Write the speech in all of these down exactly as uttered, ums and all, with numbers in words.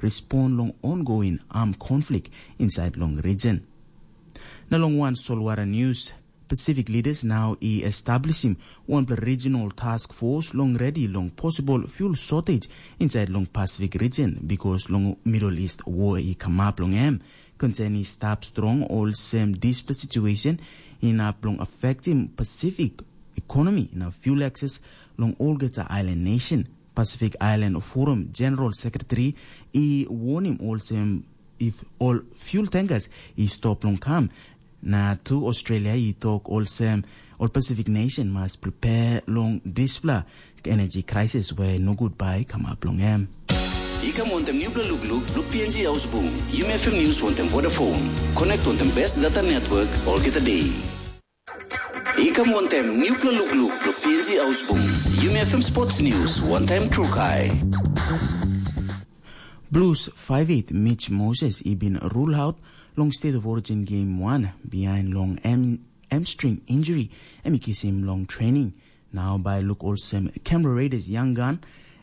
respond long ongoing armed conflict inside long region. Na long wan solwara news, Pacific leaders now i establishim wanpela regional task force long ready long possible fuel shortage inside long Pacific region because long Middle East war i kamap long em. Concern i stap strong olsem dispela situation inap long affectim Pacific economy na fuel access long olgeta island nation. Pacific Island Forum General Secretary i warning olsem if ol fuel tankers i stop long kam, na tu Australia i tok olsem ol Pacific nation mas prepare long dispela energy crisis we nogut bai kamap long em. I kam wantem nupela lukluk blo P N G Ausbung. Yumi F M News wantem Vodafone. Connect wantem best data network olgeta day. I kam wantem nupela lukluk blo P N G Ausbung. Yumi F M Sports News wantem Trukai. Blues five eight Mitch Moses i bin rule out long State of Origin Game one behind long em hamstring injury em i kisim long training. Nau bai luk olsem Canberra Raiders young gun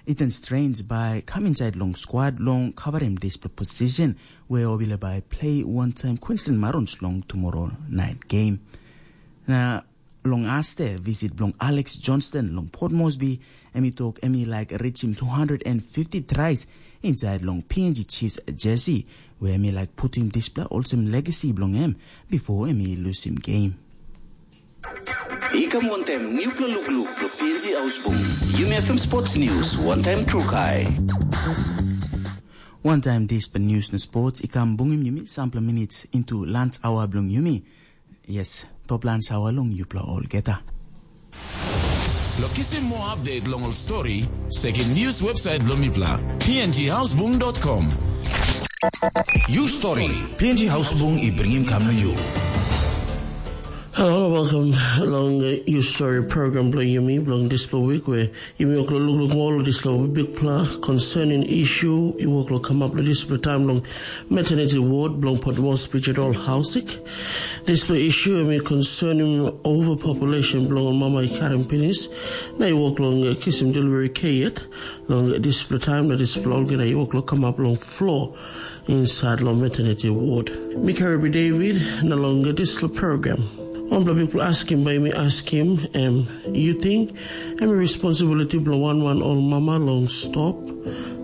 Ethan Strains bai kam inside long squad long covering dispela position where obila bai play one time Queensland Marons long tomorrow night game. Na long aste visit bilong Alex Johnston long Port Moresby, em i tok em i laik reachim two hundred and fifty tries inside long P N G Chiefs jersey, where em i laik putim dispela olsem legacy bilong em before em i lusim game. I kam wantem nupela lukluk blo P N G Ausbung. Yumi F M Sports News, one time Trukai. One time dispela news na sports i kam bungim yumi sampela minutes into lunch hour bilong yumi. Yes, top lunch hour long yupela olgeta. Lo kisim more update long ol story, sekim news website bilong mipela, P N G Houseboom dot com. You story, P N G Houseboom i bringim kam na you. Hello, welcome along uh, your story program bilong yumi bilong dispela week where yumi oklo lukluk mol dispela bigpela concerning issue i woklo come up dispela time long maternity ward bilong Port Moresby General Housing. Dispela issue em i concerning overpopulation bilong ol mama i karim pinis na i wok long uh, kisim delivery care yet. Long dispela time na dispela olgeta i wok long kamap long floor inside long maternity ward. Mi Karibi David na long dispela program. Wanpela bikpela askim bai mi askim em, yu ting em i responsibility bilong wan wan ol mama long stop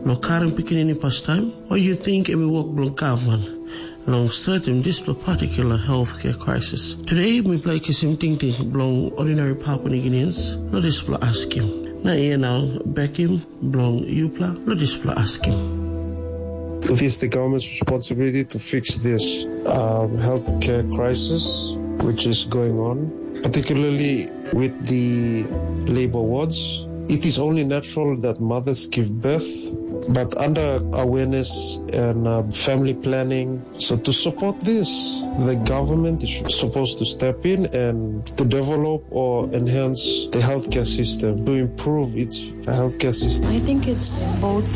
long karim pikinini pastaim, o yu ting em i wok bilong gavman long stretim dispela particular healthcare crisis. Today mipela i kisim tingting bilong ordinary Papua New Guineans long dispela askim. Na ia nau bekim bilong yupela long dispela askim. It is the government's responsibility to fix this um, healthcare crisis which is going on, particularly with the labor wards. It is only natural that mothers give birth, but under awareness and uh, family planning, so to support this, the government is supposed to step in and to develop or enhance the healthcare system, to improve its healthcare system. I think it's both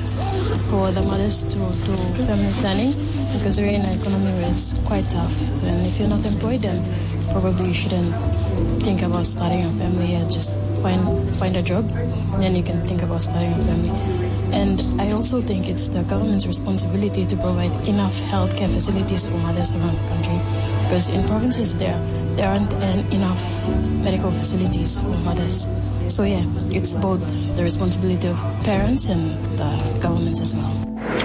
for the mothers to do family planning because we're in an economy where it's quite tough. And if you're not employed, then probably you shouldn't think about starting a family. Yeah, just find find a job, then you can think about starting a family. And I also think it's the government's responsibility to provide enough healthcare facilities for mothers around the country. Because in provinces there, there aren't en- enough medical facilities for mothers. So yeah, it's both the responsibility of parents and the government as well.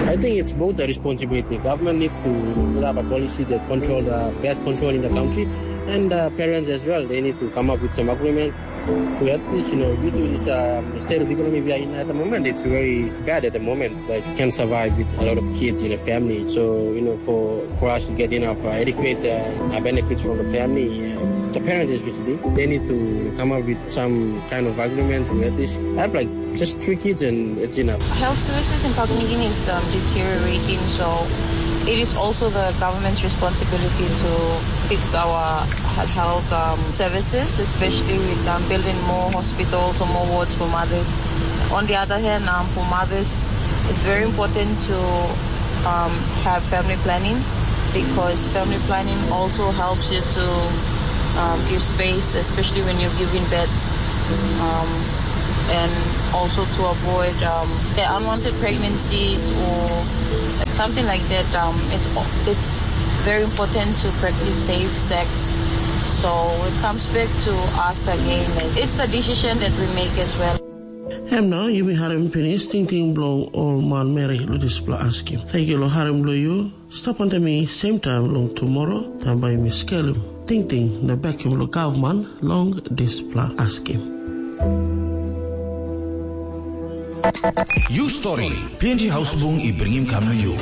I think it's both the responsibility. Government needs to put up a policy that control the birth control in the country, and uh, parents as well. They need to come up with some agreement to at least, you know, due to this uh, state of economy we are in at the moment, it's very bad at the moment. Like, can survive with a lot of kids in a family. So, you know, for for us to get enough uh, adequate uh, uh, benefits from the family, uh, the parents especially, they need to come up with some kind of agreement to at least have like just three kids and it's enough. Health services in Papua New Guinea is um, deteriorating, so it is also the government's responsibility to fix our he- health um, services, especially with um, building more hospitals or more wards for mothers. On the other hand, um, for mothers, it's very important to um, have family planning because family planning also helps you to um, give space, especially when you're giving birth, um, and also to avoid um, yeah, unwanted pregnancies or Something like that, um, it's it's very important to practice safe sex. So it comes back to us again. Like, it's the decision that we make as well. Em nau yumi harim pinis tingting bilong ol manmeri long dispela askim. Thank you long harim bilong yu. Stap wantaim mi same time long tomorrow, taim bai mi skelim tingting na bekim long gavman long dispela askim. Yu stori, P N G Hausbung i bringim kam long yu.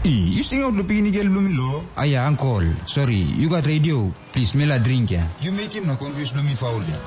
I, yu singaut long pikinini gel bilong mi lo? Aia, ankol, sori, yu gat redio? Plis, mi la dring ya. Yu mekim na confuse bilong mi faul ya.